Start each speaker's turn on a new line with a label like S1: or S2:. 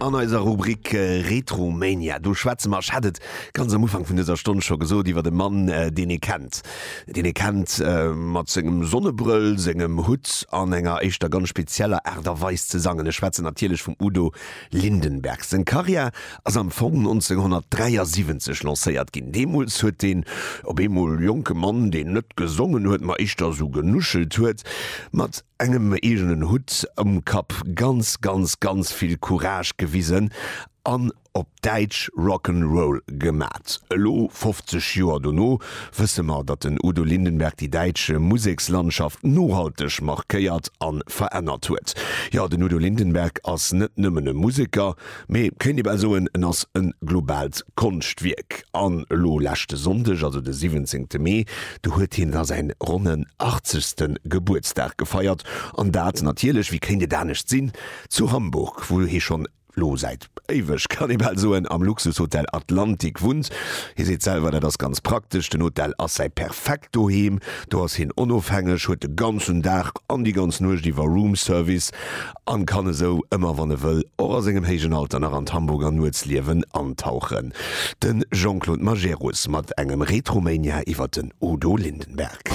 S1: An eiser Rubrik Retromania, do schwätze mer, ech hat et ganz am Ufank vun dëser Stonn scho gesot, iwwert e Mann, deen ee kennt. Deen ee kennt mat sengem Sonnebrëll, sengem Hutt an enger éischter ganz spezieller Aart a Weis ze sangen. Ech schwätzen natierlech vum Udo Lindenberg. Seng Karriär ass am Fong 1973 lancéiert ginn. Deemools huet deen op eemol jonke Mann, deen net gesongen huet, ma éischter esou genuschelt huet, mat engem eegenen Hutt um Kapp ganz, ganz, ganz vill Courage gewisen an op Däitsch Rock'n Roll gemat. Elo, 50 Joer dono, wësse mer, datt den Udo Lindenberg déi däitsch Musekslandschaft nohalteg markéiert a verännert huet. Jo, den Udo Lindenberg ass net nëmmen e Museker, Mee kéint ee bal soen, en ass e globaalt Konschtwierk. An elo leschte Sonndeg, also de 17 Mee, do huet hien da säin ronnen achtzegste Gebuertsdag gefeiert. An dat natierlech, wéi kéint et anescht sinn, zu Hamburg, wou hie schonn elo säit éiweg, kann ee bal soen, am Luxushotel Atlantic wunnt. Hie seet selwer, dat ass ganz praktesch, den Hotel ass säi perfekt Doheem, do ass hien onofhängeg, huet de ganzen Dag an déi ganz Nuecht iwwer Roomservice An kann esou ëmmer wann e wëll, och a sengem héijen Alter nach an d'Hamburger Nuetsliewen antauchen. De Jean-Claude Majerus mat engem Retromania iwwer den Udo Lindenberg.